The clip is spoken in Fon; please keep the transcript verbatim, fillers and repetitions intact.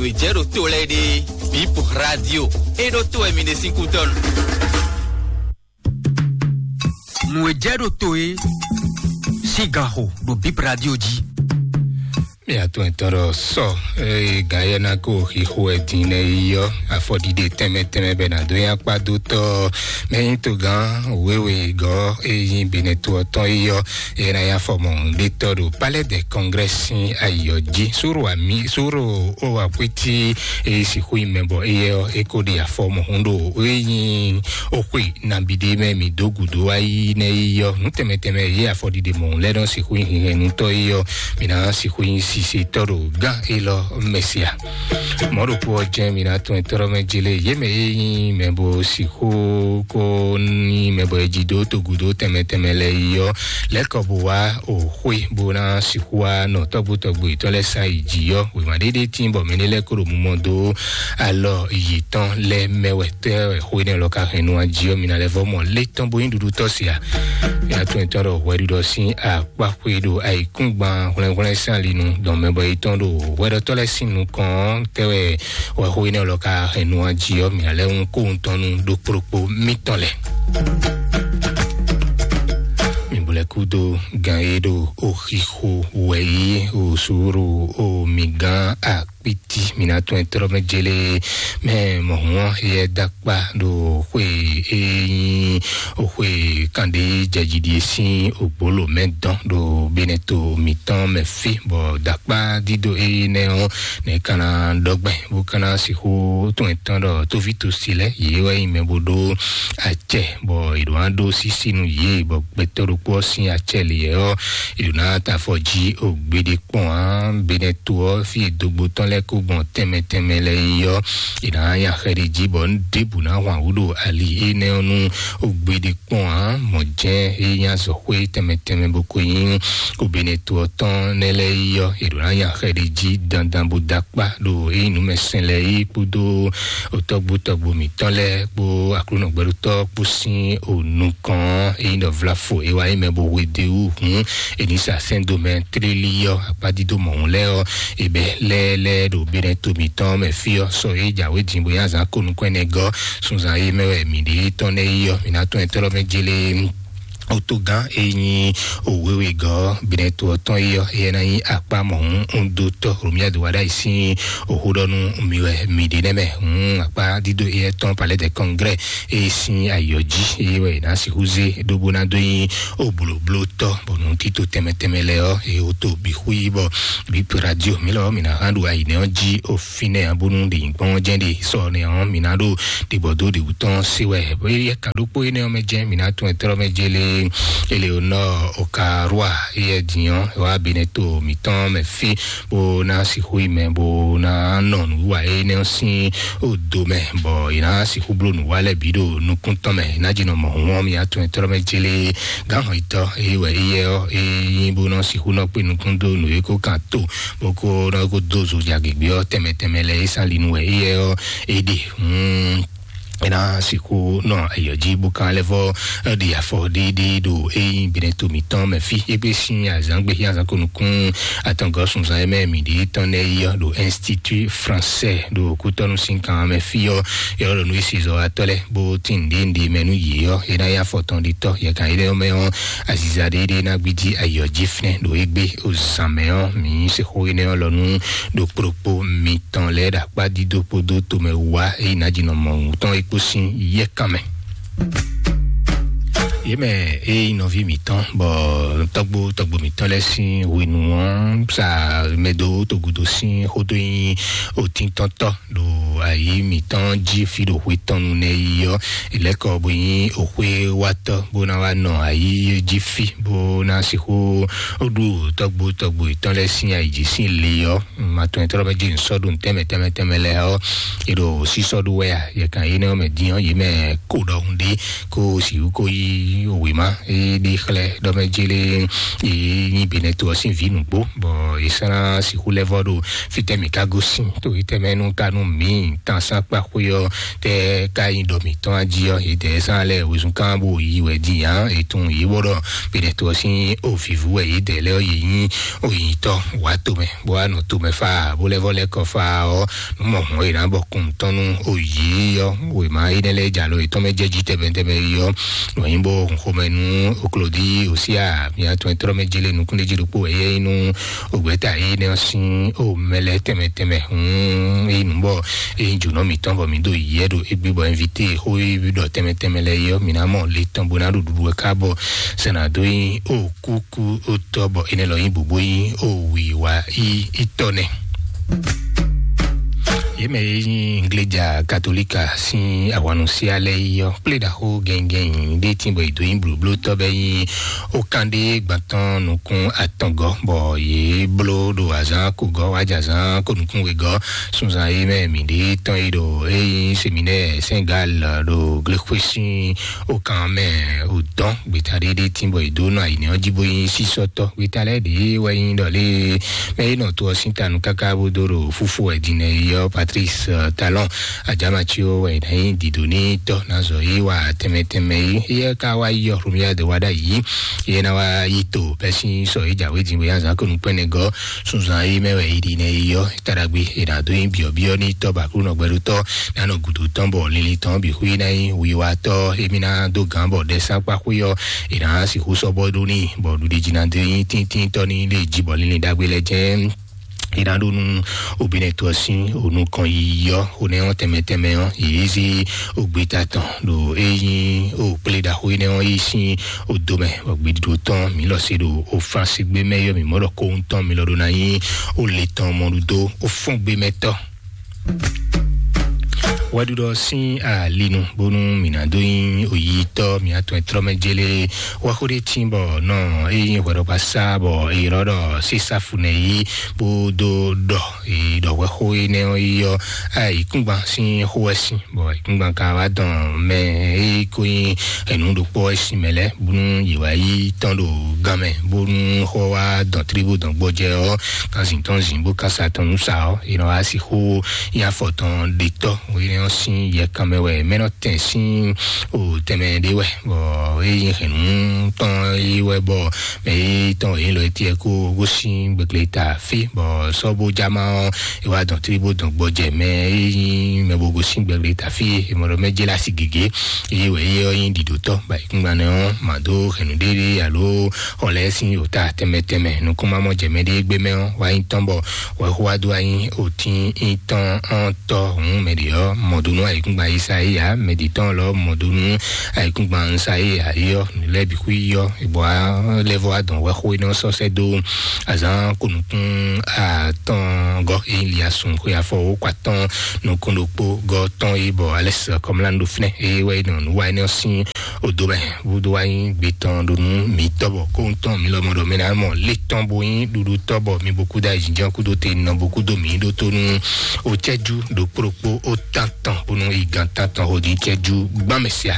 Nǔ e jɛ ɖo to lɛ́ɛ ɖe, Bip Radio, é ɖó to wɛ mi ɖe sín kútɔ́nu. Nǔ e jɛ ɖo to é sín ganxo ɖo Bip Radio jí. Mi atɔn etɔn ɖɔ sɔ eye gǎn yɛ ná kó xixo wɛ din nɛ yi ɔ́, afɔɖiɖe tɛnmɛ tɛnmɛ bɛ ná dó nyi akpá dó tɔ́ mɛ nyí togán wěwe gɔ́ e nyí Benɛto ɔ́ tɔn yi ɔ́, e ná nyi afɔmɔɖetɔ́ ɖo Palais des Congrès sín ayǐ ɔ́ jí. Suro ami suro o akwítí e sixú nyi mɛ bɔ éyɛ́ ɔ́, é ko ɖe afɔ mɔ̌hun ɖo e nyí oxwe nabí ɖé mɛ mi dó gǔdo wá yi nɛ́ yi ɔ́, nǔ tɛnmɛ tɛnmɛ e afɔɖiɖe mɔ̌hun lɛ́ɛ nɔ sixú nyi hinhɛnnutɔ́ yi ɔ́, mi ná sixú nyi sisetɔ́ ɖo gán élɔ́ mɛ sia. Mɔ̌ ɖokpó ɔ́ jɛ́n mi ná tɔn etɔ́ mɛ jele yě mɛ e nyí mɛ bo sixú ko nyí mɛ bɔ è jí dó togudo tɛnmɛ tɛnmɛ lɛ́ɛ yi ɔ́, lɛ́ kɔ bo wá o xwé bó ná sixú wá nɔ tɔ́gbó tɔ́gbó yětɔn lɛ́ɛ sán yi jǐ ɔ́, wěma ɖéɖé tín bɔ mɛ ɖé lɛ́ɛ kó ɖo mumɔ dó alɔ yětɔn lɛ́ɛ mɛ wɛ tɛ́ wɛ xó énɛ́ lɔ ka hɛn nú ají ɔ́, mi ná lɛ́ vɔ́ mɔ lé tɔn bó nyí ɖuɖu tɔ́ se a? Mia tɔn nyitɔn ɖɔ hwɛɖuɖɔ sín akpáxwé ɖo ayǐkúngban hwlɛ́nhwlɛ́n sín ali nu dɔn mɛ bɔ yětɔn ɖo hwɛɖɔtɔ́ lɛ́ɛ sín nukɔn ɔ́, tɛ́ wɛ wɛ xó énɛ́ lɔ ka hɛn nú ají ɔ́, mi ná lɛ́ hun kó wuntɔn nú ɖokpóɖokpó mitɔn lɛ́ɛ. Mi bo lɛ́ kúdó gan e ɖo oxixo wɛ yí o sùúrù o mi gán akpiti mi ná tún ɛ trɔ́ mɛ jélé mɛ mɔ̌hún ɔ́ yɛ dó akpá ɖo xwe e nyí xwe kanɖé jɛjidi e sín ògbóló mɛ dɔn ɖo Benɛto mǐtɔn mɛ fí, bɔ dó akpá dídó énɛ́ ɔ́ nɛ̌ ka ná ɖɔgbɛ́ bó ka ná sixú tún ɛ tɔn ɖɔ tóví tosi lɛ́ɛ yě wɛ nyí mɛ bó ɖó acɛ, bɔ è ɖǒ ná ɖó sísí nú yě, bɔ gbɛtɔ́ ɖokpó ɔ́ sín acɛ lě ɔ́, è ɖǒ ná ta afɔ jí o gbeɖé kpɔ́n ǎ. Benɛto ɔ́, fí e dogbo tɔn lɛ́ɛ kó gbɔn tɛnmɛ tɛnmɛ lɛ́ɛ yi ɔ́, è nǎ nya xɛ ɖé jí, bɔ nǔ ɖěbǔ ná hwan wǔ ɖo ali énɛ́ ɔ́ nú o gbeɖé kpɔ́n ǎ. Mɔ̌ jɛ́n é nyí azɔ̌xwé tɛnmɛ tɛnmɛ bó ko nyí o Benɛto ɔ́ tɔn nɛ́ lɛ́ɛ yi ɔ́, è ɖǒ ná nya xɛ ɖé jí dandan bó dó akpá ɖo é nyí nǔmɛsɛn lɛ́ɛ yi kpódó o tɔ́gbó tɔ́gbó mǐtɔn lɛ́ɛ kpó Aklúnɔ gbɛɖótɔ́ kpó sín o nukɔn ɔ́, é nyí ɖɔ vlafo é wá nyí mɛ bó hwedó e wú hǔn è nǐ sa sɛ́n dó mɛ tlélí ɔ́, akpá dídó mɔ̌hun lɛ́ɛ ɔ́, è bɛ́ lɛ́ɛ lɛ́ɛ ɖo Benɛto mǐtɔn mɛ fí ɔ́, sɔ é jǎwe din bó nyí azǎn ko nukɔn ɛnɛ gɔ́ sunzan e mɛ wɛ mǐ ɖe tɔn nɛ́ yi ɔ́, mǐ ná tɔ́n ɛ tɔ́ mɛ jélé. Otogán e nyí òwéwegɔ́ Benɛto ɔ́ tɔn yi ɔ́, éyɛ́ ná nyí akpá mɔ̌hún un dó tɔ́ Romuald Wadagni sín òxúɖɔ́nú mi wɛ mi ɖe nɛ́ mɛ. Hǔn akpá dídó éyɛ́ tɔn Palais des Congrès e sín ayǐ ɔ́ jí é wɛ è nǎ sixú zé ɖó bó ná dó nyí òblǒblótɔ́, bɔ nǔ tito tɛnmɛ tɛnmɛ lɛ́ɛ ɔ́, e o to bǐ xú yí bɔ bǐ radio mǐ lɔ mǐ ná hán ɖo ayǐ nɛ́ ɔ́ jí o fínɛ́ ǎ, bónú ɖě nyí gbɔn jɛ́n ɖe sɔ nɛ ɔ́, mǐ ná ɖo ɖibɔ̌ dó ɖě wú tɔn se wɛ. Éyɛ́ kan ɖokpó énɛ́ ɔ́ mɛ jɛ́n mǐ ná tún ɛ tlɔ́ mɛ jélé Eleonore Okarua éyɛ́ din ɔ́, é wá Benɛto mǐtɔn mɛ fí bó ná sixú yi mɛ bó ná nɔ nǔwiwa énɛ́ ɔ́ sín odo mɛ, bɔ è ná sixú bló nǔwa lɛ́ɛ bǐ ɖo nukún tɔn mɛ. È nǎ jí nɔ mɔ hǔn ɔ́, mǐ ná tún ɛ tlɔ́ mɛ jélé gǎnhɔn yitɔ́ é wɛ éyɛ́ ɔ́, é nyí bó nɔ sixú nɔ kpé nukún dó nǔ e ko kan tó bó ko nɔ ko dó zo ja gěgbe ɔ́ tɛnmɛ tɛnmɛ lɛ́ɛ é sán linu wɛ éyɛ́ ɔ́ é ɖe. Hǔn é ná sixú nɔ ayɔ̌ jí bó kan lɛ́ vɔ ɖi afɔ ɖéɖéé ɖo é nyí Benɛto mǐtɔn mɛ fí. É gbé sín azǎn gbé xí azǎn ko nukún atɔngɔ́ sunzan e mɛ mǐ ɖe tɔn nɛ́ yi ɔ́ ɖo Institut Français ɖo Kútɔ́nú sín kan mɛ fí ɔ́, é ɔ́ ɖo nú é si zɔ atɔ́ lɛ́ɛ bó tín nǔɖé nǔɖé mɛ nú yě ɔ́, é ná nyí afɔ tɔn ɖi tɔ́. Yɛ kan énɛ́ ɔ́ mɛ ɔ́, aziza ɖéɖéé ná gbídí ayɔ̌ jí fínɛ́ ɖo égbé o zǎn mɛ ɔ́, mǐ sixú énɛ́ ɔ́ lɔ nú ɖo kplɔ́kpó mitɔn lɛ́ɛ ɖo akpá dídó kpódó tomɛ wá é yi nǎ jí nɔ mɔ wǔ tɔn é kpó sín yɛ́kan mɛ. Yě mɛ é nyí nɔví mǐtɔn, bɔ tɔ́gbó tɔ́gbó mǐtɔn lɛ́ɛ sín hwenu ɔ́ sa mɛ dó togudo sín xó dó nyí otíntɔ́ntɔ́ ɖo ayǐ mǐtɔn jí fí ɖo hwe tɔn nu nɛ́ yi ɔ́, è lɛ́ kɔ bó nyí oxwé wátɔ́ bó ná wá nɔ ayǐ jí fí bó ná sixú ɖu tɔ́gbó tɔ́gbó yětɔn lɛ́ɛ sín ayǐ jí sín li ɔ́. Ma tɔn yětɔn mɛ jí nsɔ́ ɖo tɛnmɛ tɛnmɛ tɛnmɛ lɛ́ɛ ɔ́, è ɖo sísɔ́ ɖó wɛ a? Yɛ kan énɛ́ ɔ́ mɛ dín ɔ́, yě mɛ kó ɖɔhun ɖé kó sixú kó yí wěma é ɖi xlɛ́ ɖɔ mɛ jélé é nyí Benɛto ɔ́ sín vǐ nǔgbó, bɔ è sɔ́ ná sixú lɛ́ vɔ ɖo fítɛ́ mǐ ka gosín to yětɛn mɛ nú ka nú mǐ Tan sákpá xwé ɔ́ tɛ ká nyi ɖɔ mǐtɔn ají ɔ́, yědɛɛ sán lɛ́ɛ wezun kán bó yi wɛ din ǎ. Ètun yě bɔ ɖɔ Benɛto ɔ́ sín ovǐvú wɛ yědɛɛ lɛ́ɛ ɔ́, yě nyí oyǐtɔ́ wǎ tomɛ bó wá nɔ tomɛ fá bó lɛ́ vɔ lɛ́ kɔ fá ɔ́, nú mɔ hɔn è nǎ bɔ kun tɔn nú oyǐ ɔ́. Wěma énɛ́ lɛ́ɛ jɛ alɔ yětɔn mɛ jɛ jí tɛnmɛ tɛnmɛ yi ɔ́, nɔ nyí bó hun xomɛ nú oklodí òsíà mia tɔn e tlɔ́ mɛ jélé nukúnɖéjí ɖokpó wɛ yɛ nyí nú ògbɛ́ta énɛ́ ɔ́ sín o mɛ lɛ́ɛ tɛnmɛ tɛnmɛ. Hun é nǔ bɔ é nyí jǒnɔ mǐtɔn bɔ mǐ ɖo yɛ ɖo égbé bɔ invité xó e ɖɔ tɛnmɛ tɛnmɛ lɛ́ɛ yi ɔ́, mǐ ná mɔ le tɔn bó ná ɖo ɖuɖu wɛ ká bɔ sɛnà dó nyí o kúkú ó tɔ́ bɔ énɛ́ lɔ nyí bǔbú nyí o wǐwá yi yi tɔ́ nɛ. Yě mɛ e nyí Ingleja Katolika sín ahwannusia lɛ́ɛ yi ɔ́, kplé ɖaxó gɛngɛn ɖé tín bɔ è dǒ nyí blǒblótɔ́ bɛ́ nyí ó kán ɖé gbantɔ́ nukún atɔngɔ́, bɔ yě bló ɖo azǎn kogɔ́ wá jɛ azǎn ko nukún wegɔ́. Sunzan e mɛ mǐ ɖe tɔn e ɖo e nyí seminɛ́ɛ Sɛngal ɖo glexwé sín ó kán mɛ ò dɔn gbeta ɖé ɖé tín bɔ è dǒ nɔ ayǐnɛ ɔ́ jí bó nyí sísɔ́tɔ́. Gbeta lɛ́ɛ ɖě wɛ nyí ɖɔ lé mɛ e nɔ to ɔ́ sín tanu káká bó dó ɖo fúfú wɛ din nɛ yi ɔ́, Patrice, eh, Talon Adjamatsio wɛ ná nyí dǐdó ní tɔ́ ná zɔ yí wa tɛnmɛ tɛnmɛ yi. Yɛ ká wá yi ɔ́, Romuald wá ɖ'ayǐ. Yɛ ná wá yi to bɛ́ sín sɔ yi jǎwe din bó yá zǎn ko nukpɛ́nɛgɔ́ sunzan yi mɛ wɛ yi ɖi nɛ yi ɔ́, taɖagbe è nǎ dó nyí byɔ̌byɔ́ ní tɔ́ ba Aklúnɔ gbɛɖótɔ́ ná nɔ gǔdo tɔn bɔ linlin tɔn bǐ xwí ná nyí wiwatɔ́. Émí ná dó gǎn bɔ ɖɛ sákpá xwé ɔ́, è nǎ sixú sɔ́ bɔ ɖó n'i, bɔ ɖuɖi jí ná dó nyí tíntíntɔ́ ní lé jí bɔ linlin ɖagbe lɛ́ɛ jɛ́n. È nǎ ɖo nú obìnrin tó ɔ́ sín onú kan yiyi ɔ́, onɛ ɔ́ tɛnmɛ tɛnmɛ ɔ́, yě zí ogbeta tɔn ɖo é nyí o kplé ɖaxó énɛ́ ɔ́ yi sín odo mɛ, bɔ gbeɖiɖo tɔn mǐ lɔ se ɖo o Fransi gbé mɛ yɔ mǐ mɔ ɖɔ kóhun tɔn mi lɔ ɖó ná nyí o le tɔn mɔɖuɖó o fɔ́n gbé mɛ tɔn. Wɛɖuɖɔ sín alinu bónú mǐ ná dó nyí oyitɔ́ mǐ atɔn e tlɔ́ mɛ jélé wá xó ɖé tín bɔ nɔ é nyí hwɛɖɔkpá sá bɔ è ylɔ́ ɖɔ sísáfu nɛ yí bó dó ɖɔ è ɖɔ hwɛxó énɛ́ ɔ́ yi ɔ́, ayǐkúngban sín xó wɛ sín bɔ ayǐkúngban ka wá dɔn mɛ e ko nyí ɛnu ɖokpó ɔ́ sín mɛ lɛ́ɛ bónú yě wá yí tɔn ɖo gan mɛ bónú xó wá dɔn tlíbú dɔn gbɔjɛ ɔ́, kan zǐn tɔn zǐn bó kan sa tɔn nú sa ɔ́, è nɔ wá sixú nyí afɔ tɔn ɖetɔ́. Énɛ́ ɔ́ sín yɛkan mɛ wɛ mɛ nɔ tɛn sín o tɛnmɛ ɖé wɛ bɔ é nyí hɛ̌nnu tɔn é wɛ bɔ mɛ é tɔn é lɔ é tiɛ kó gosín gbɛgbɛ ta fí bɔ sɔ́ bó jáma ɔ́, é wá dɔn tlí bó dɔn gbɔjɛ mɛ é nyí mɛ bó gosín gbɛgbɛ ta fí é mɔ ɖɔ mɛ jẹ́ lásì gěgé. Eye wɛ é ɔ́ nyí ɖiɖotɔ́ ba ìkúngban nɛ ɔ́, mǎ dó hɛ̌nnu ɖéɖé alo xɔ lɛ́ɛ sín ota tɛnmɛ tɛnmɛ nukúnmamɔ jɛ mɛ ɖé gbé mɛ ɔ́ wá nyí tɔn bɔ wɛxó wá dó wá nyí otín nyí tɔn ɔ́ tɔ hǔn mɛ ɖě ɔ́ mɔ dó nú ayǐkúngban Yisayia, mɛ ɖě tɔn lɔ mɔ dó nú ayǐkúngban Yisayia é ɔ́, nǔ lɛ́ɛ bǐ xwí ɔ́, bɔ lɛ́ vɔ wá dɔn wɛxó énɛ́ ɔ́ sɔ́ sɛ́ dó azǎn ko nukún atɔngɔ́ é nyí Liasun xwe afɔ wó kɔ atɔn nukún ɖokpó gɔ́ tɔn é bɔ Alɛ́s Kɔmlán ɖo fínɛ́ é wɛ é nɔ nǔ wa énɛ́ ɔ́ sín odo mɛ bó dó wá nyí gbe tɔn ɖo nú mǐ tɔ́ bɔ kóhun tɔn mǐ lɔmɔ ɖɔ mɛ ná mɔ lé tɔn bó nyí ɖuɖu tɔ́ bɔ mi bo kú dó ayǐjínjɔ́n kú dó te nɔ bo kú dó mǐ ɖótó nú o cɛ́jú ɖokpó ɖokpó o tán tɔn bónú igán tán tɔn xo dín cɛ́jú gbán mɛ sia.